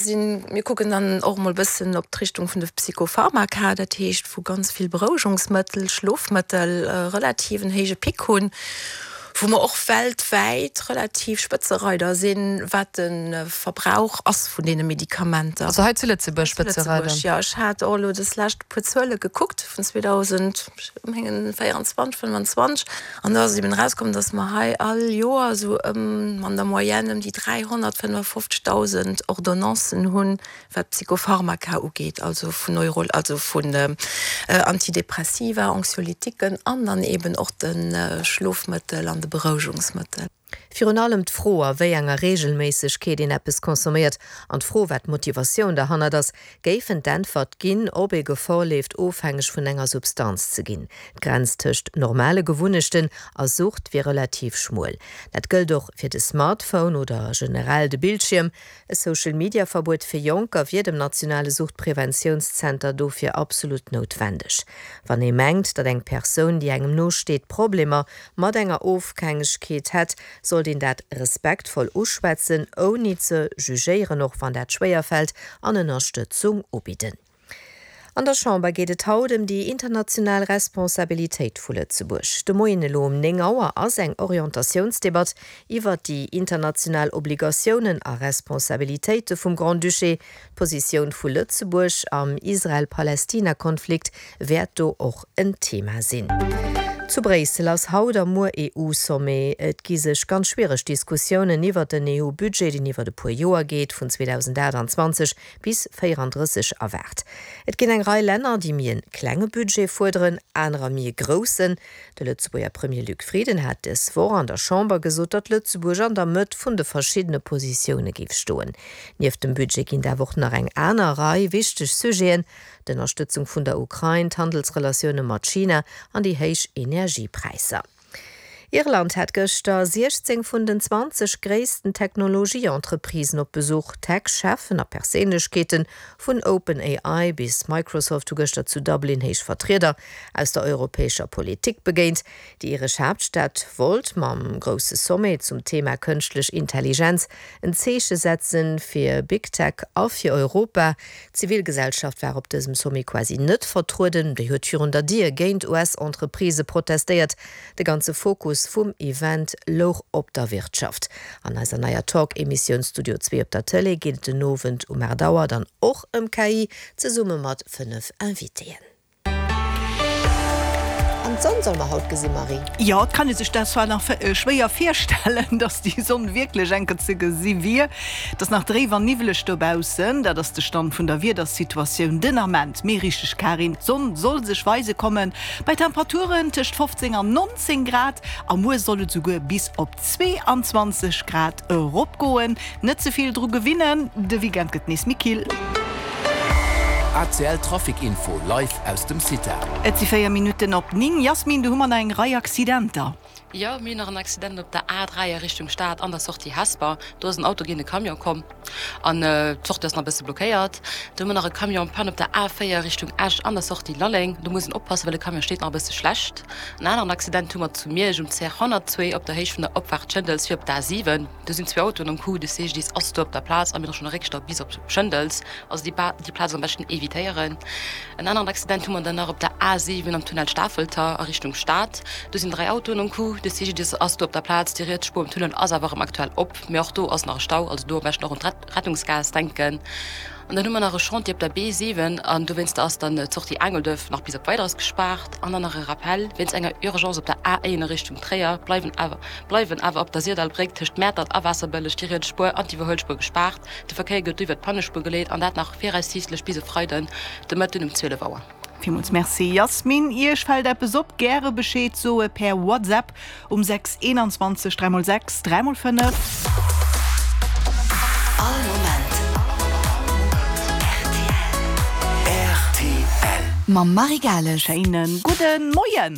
Sinn. Mir kucken dann och emol e bëssen op d'Richtung vun de Psychopharmaka, dat heescht wou ganz vill Berouegungsmëttel, Schlofmëttel relativ en héije Pic hunn, wou mer och weltwäit relativ Spëtzereider sinn, wat de Verbrauch ass vun deene Medikamenter. Also hei zu Lëtzebuerg Spëtzereider? Zu Lëtzebuerg, jo. Ech hat och elo des lescht e puer Zuele gekuckt vun 2024, 25 an do ass et eben erauskomm, dass mer hei all Joer esou ëm an der Moyenne ëm déi 355.000 Ordonnancen hunn, wat Psychopharmaka ugeet, also vun Neuro, also vun Antidepressiva, Anxiolytiquen an dann eben och de Schlofmëttel an de Berouegungsmëttel. Virun allem d'Fro, a wéi enger Reegelméissegkeet een eppes consomméiert, an d'Fro, wat d'Motivatioun derhannert ass, géifen d'Äntwert ginn, ob ee Gefor leeft, ofhängeg vun enger Substanz ze ginn. D'Grenz tëscht normale Gewunnechten a Sucht wier relativ schmuel. Dat gëllt och fir de Smartphone oder generell de Bildschierm. E Social-Media-Verbuet fir Jonker wier dem nationale Suchtpreventiounszenter dofir absolut noutwendeg. Wann ee mengt, datt eng Persoun, déi engem no steet, Problemer mat enger Ofhängegkeet hätt, sollt een dat respektvoll uschwätzen, ouni ze jugéieren, och wann dat schwéier fält, an Ënnerstëtzung ubidden. An der Chamber geet et haut ëm déi international Responsabilitéit vu Lëtzebuerg. De Moien elo um 9 Auer ass eng Orientatiounsdebatt iwwert déi international Obligatiounen a Responsabilitéite vum Grand-Duché. D'Positioun vu Lëtzebuerg am Israel-Palestina-Konflikt wäert do och en Thema sinn. Zu Bréissel ass haut a muer EU-Sommet. Et gi sech ganz schwiereg Diskussiounen iwwert den EU-Budget, deen iwwert e puer Joer geet, vun 2028 bis 34 erwaart. Et ginn eng Rei Länner, déi méi e klenge Budget fuerderen, anerer méi e groussen. De Lëtzebuerger Premier Luc Frieden hat dës Woch an der Chamber gesot, datt Lëtzebuerg an der Mëtt vun de verschiddene Positioune géif stoen. Nieft dem Budget ginn et awer och nach eng aner Rei wichteg Sujeten, d'Ënnerstëtzung vun der Ukrain, d'Handelsrelatioune mat China an déi héich Energiepräisser. Irland hat gëschter 16 vun den 20 gréissten Technologie-Entreprisen op Besuch. Tech-Cheffen a Perséinlechkeete vun OpenAI bis Microsoft hu gëschter zu Dublin héich Vertrieder aus der europäescher Politik begéint. Déi iresch Haaptstad wollt mam grousse Sommet zum Thema kënschtlech Intelligenz en Zeeche setzen fir Big Tech a fir Europa. D'Zivilgesellschaft war op dësem Sommet quasi net vertrueden. Déi huet virun der Dier géint US-Entreprisë protestéiert. De ganze Fokus vum Event louch op der Wirtschaft. An eiser neier Talk-Emissioun Studio Zwee op der Tëlee geet et den Owend um 8 Auer dann och ëm KI, zesumme mat 5 Invitéen. An d'Sonn soll mer haut gesinn, Marie. Jo, et kann ee sech dat zwar nach schwéier virstellen, dass déi Sonn wierklech enker ze gesi wier. Et ass nach dréif an niwweleg dobaussen, dat ass de Stand vun der Wiedersituatioun den Ament. Mee richteg, Karin, d'Sonn soll sech weise kommen, bei Temperaturen tëscht 15 an 19 Grad. A muer soll et esouguer bis op 22 Grad eropgoen. Net ze vill dru gewinnen, de Weekend gëtt nees méi kill. ACL Trafic Info live aus dem CITA. Et si 4 Minutten op 9. Yasmin, do hu mer nach eng Rei Accidenter. Jo, mir hunn nach en Accident op der A3 a Richtung Stad an der Sortie Hesper. Do ass en Auto géint e Camion komm an d'Sortie ass nach e bësse blockéiert. Do hu mer nach e Camion en panne op der A4 Richtung Esch an der Sortie Lalleng. Do muss een oppassen, well de Camion steet nach e bësse schlecht. En aneren Accident hu mer zu Miersch um CR 102 op der Héicht vun der Opfaart Schëndels fir op d'A7. Do sinn zwee Autoen am Coup, de CGDIS ass do op der Plaz a mir hu schonn e Réckstau bis op Schëndels. Also déi déi Plaz am beschten evitéieren. En aneren Accident hu mer dann nach op der A7 am Tunnel Stafelter a Richtung Stad. Do sinn 3 Autoen am Coup, de CGDIS ass do op der Plaz. Déi riets Spuer um Tunnel ass awer erëm aktuell op, mee och do ass nach e Stau, also do am beschten och un d'Rettungsgaass denken. An dann hu mer nach e Chantier op der B7 an dowéinster ass dann d'Sortie Aangelduerf nach bis op Weideres gespaart. An dann nach e Rappel, Wéinst enger Urgence op der A1 a Richtung Tréier bleiwen awer bleiwen awer op der Syrdallbréck tëscht Mäertert a Waasserbëlleg déi riets Spuer an d'Iwwerhuelspuer gespaart. De Verkéier gëtt do iwwer d'Pannespuer geleet an dat nach viraussiichtlech bis e Freiden de Mëtten um 12 Auer. Villmools Merci Yasmine. Iech fält eppes op? Gäre Bescheed soe per WhatsApp um 6 21 3 x 6 3 x 5. All Moment rtl. Mam Marie Gales. Schéinen gudden Moien.